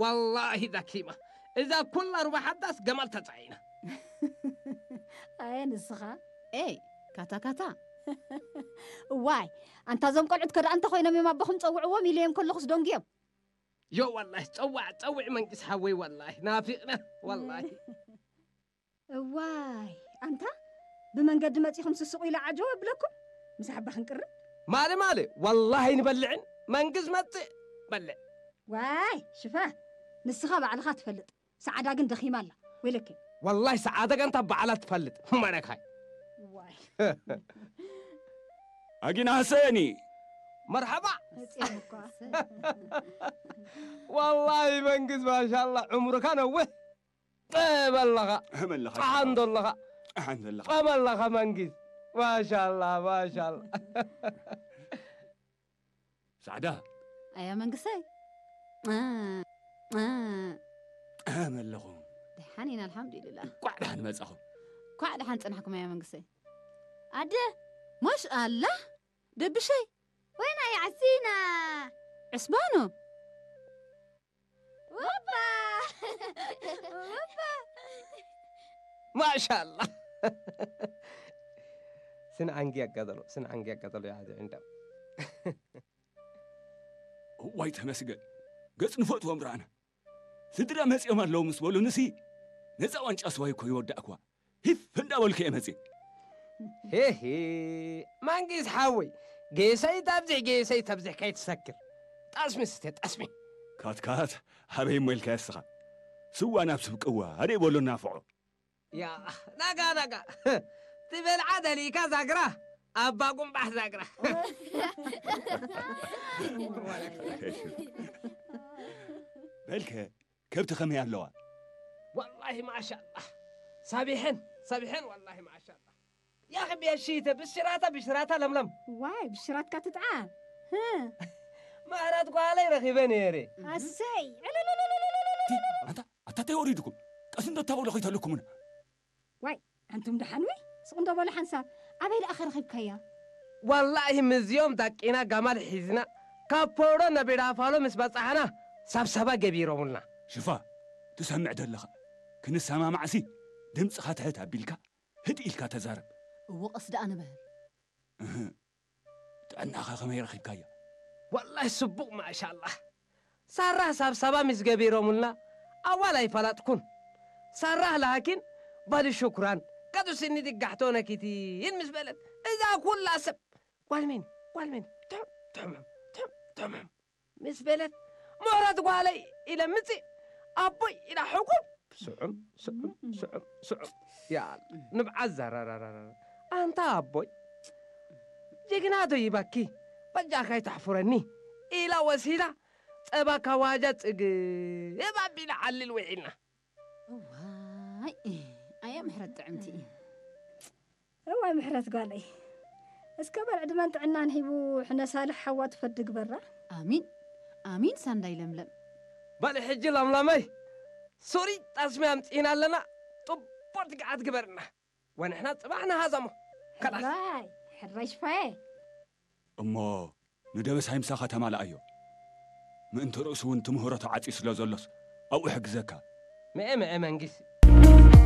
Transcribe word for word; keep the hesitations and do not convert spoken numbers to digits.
ወላሂ ደኪመ። እዛ ኩላ ሩባሕ ሐዳስ ገማል ተጸዒነ። አየ ንስኻ? ኤ፣ ካታ ካታ። እዋይ፣ አንታ እዞም ቆልዑት ከደኣ እንተ ኮይኖም እዮም አቦኹም ጸውዕዎም ኢለዮም ከለኹስ ደንጉዮም። ዮ ወላሂ፣ ጸዋዕ፣ ጸውዕ መንግስ ሓወይ፣ ወላሂ ናፊቅና፣ ወላሂ። እዋይ፣ አንታ ብመንገዲ መጺኹም ስስቁ ኢለ ዐጀው እብለኩም፣ ምስ ሓባ ክንቅርብ። ማለ፣ ማለ፣ ወላሂ ንበልዕን፣ መንግስ መጽእ በልዕ። ዋይ፣ ሽፋ፣ ንስኻ ባዕልኻ ትፈልጥ፣ ሰዓዳ ግን ደኺማ ኣላ፣ ወይለከ። ወላሂ ሰዓዳ ግን እንታ ባዕላ ትፈልጥ፣ መነካይ። ዋይ። አጊና ሐሰኒ። መርሐባ። መጽኦም እኳ። ወላሂ መንግስ ማሻአላህ፣ ዕምሩካ ነውህ። በለኻ። አመለኻ። አሐንዶለኻ። አሐንዶለኻ። አመለኻ መንግስ። ማሻአላህ፣ ማሻአላህ። ሰዕዳ። አያ መንግሰይ። አ፣ አ። አመለኹም። ደሓን ኢና፣ አልሐምዱሊላህ። እንኳዕ ደሓን መጻኹም። እንኳዕ ደሓን ጸናሕኩም፣ አያ መንግሰይ። አደ፣ ማሽ አላህ፣ ደብሸይ። ወይና የዐሲና? ዕስባኖ። ወባ! ወባ! ማሻአላህ። ስን ዐንጊ ያጋጠሎ፣ ስን ዐንጊ ያጋጠሎ ያሐዘ ዕንዳም። እዋይ ተመስገን፣ ገጽ ንፈትዎም ረአነ። ስድረ መጽኦም ኣለዉ ምስ በሉንሲ፣ ነጻ ዋንጫ ስዋይ እኮ ይወዳእክዋ። ሂፍ እንዳበልኩ እየ መጽእ። ሄሄ፣ መንጊስ ሓወይ፣ ጌሰይ ተብዝሕ፣ ጌሰይ ተብዝሕ ከይትሰክር። ጠስሚ ስቴ፣ ጠስሚ። ካትካት፣ ሀበይ እሞ ኢልካዮ እስኻ። ስዋ ናብ ስብ ቅዋ፣ አደ በሎ ናፍዖ። ያ፣ ነጋ፣ ነጋ። ትበልዓ ደሊካ ዛግራ፣ አባ ጉምባሕ ዛግራ። በልከ፣ ከብት ከመይ አለዋ? ወላሂ ማሻአላህ። ሰቢሐን፣ ሰቢሐን ወላሂ ማሻአላህ። ያኺ ቤት ሺተ ብሽራታ፣ ብሽራታ ለምለም። ዋይ፣ ብሽራትካ ትጥዓም። ህ። ምህረት ጓለይ ረኺበ ነይሬ። አሰይ። ቲ፣ አንታ፣ አታ ታይ ወሪድኩም? ቀስ እንዶ ታውሎ ኸይተልኩምና። ዋይ፣ አንቱም ደሓን ወይ? ስቕ እንዶ በሉ ሓንሳብ። አበይ ደኣኸ ረኺብካያ? ወላሂ፣ ምዝዮም ዳቂና ጋማል ሒዝና፣ ካብ ፖውሮ ነቢራፋሎ ምስ በጻሕና፣ ሰብሰባ ገቢሮሙልና። ሽፋ፣ ትሰምዕ ደለኻ። ክንሰማማዕሲ፣ ድምጽኻ ትሕት አቢልካ፣ ህድእ ኢልካ ተዛረብ። እወ፣ ቀስ ደኣ ንበል። እህ። ጥዕናኻ ከመይ ረኺብካያ? ወላሂ ስቡቅ ማሻአላህ። ሳራህ ሳብሳባ ምስ ገቢሮሙልና አዋል ኣይፈለጥኩን። ሳራህ ላኪን በሊ ሹክራን፣ ቀዱ ስኒ ድጋሕቶ ነኪቲን ምስ በለት፣ እዛ ኩላ ሰብ ጓልሜን፣ ጓልሜን፣ ትሑም፣ ትሑም፣ ትሑም፣ ትሑም ምስ በለት፣ ምህረት ጓለይ ኢለ ምጽእ፣ አቦይ ኢላ ሕቁብ፣ ስዑም፣ ስዑም፣ ስዑም፣ ስዑም። ያ ንብዓት ዘረረረረ። አንታ አቦይ፣ ጀግና ዶይባኪ፣ በጃካ ይተሕፉረኒ ኢላ ወሲላ፣ ጸባ ካዋጃ ጽግብ አቢለ ዐልል ውዒልና። እዋይ፣ አየ ምሕረት ጥዕምቲ። እዋይ ምሕረት ጓለይ፣ እስከ በል ዕድመን ጥዕናን ሂቡ ሕነ ሳልሕ ሐዋ ትፈዲ ግበራ። አሚን፣ አሚን ሳንዳይ ለምለም። በል ሕጂ ለምለመይ፣ ሱሪ ጠስሚ አምጺእና ኣለና፣ ጥቦት ገዓት ግበርና። ወንሕና ጽባሕ ነሃዘሞ። ከላስ። ሕራይ፣ ሕራይ ሽፋዬ። እሞ ንደበሳይ ምሳኻ ተማልኣዮ። ምእንቲ ርእሱ እውን ትምህሮ ተዓጽዩ ስለ ዘሎስ ኣብኡ ሕግዘካ። ምኤ፣ ምኤ መንግስ፣